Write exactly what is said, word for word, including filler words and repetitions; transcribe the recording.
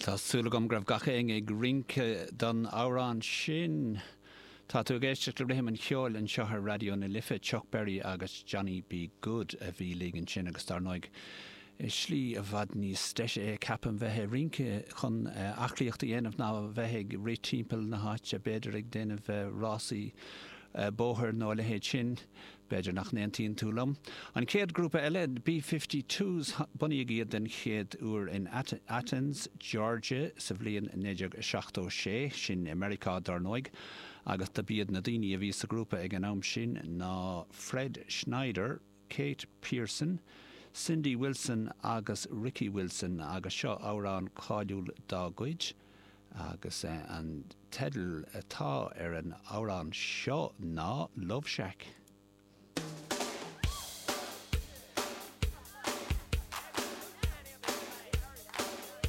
Tá súil agam go raibh gach éinne ag rince don amhrán sin. Tá tú ag éisteacht le Rithim an Cheoil anseo ar Raidió na Life Chuck Berry agus Johnny B. Goode a bhí linn ansin agus dar ndóigh. Slí i bhfad níos deise é ceapaim bheith ag rince chun aclaíocht a dhéanamh ná bheith ag rith timpeall na háite b'fhéidir ag déanamh rásaí bóthair nó a leithéid sin. B'fhéidir nach n-aontaíonn tú liom. An chéad grúpa eile B fifty twos bunaíodh iad den chéad uair in Athens, Georgia sa bhliain naoi déag seachtó sé, sin i Meiriceá dar ndóigh, agus do b'iad na daoine a bhí sa ghrúpa ag an am sin ná Fred Schneider, Kate Pierson, Cindy Wilson agus Ricky Wilson agus seo amhrán cáiliúil dá gcuid agus an teideal atá ar an amhrán seo ná Love Shack.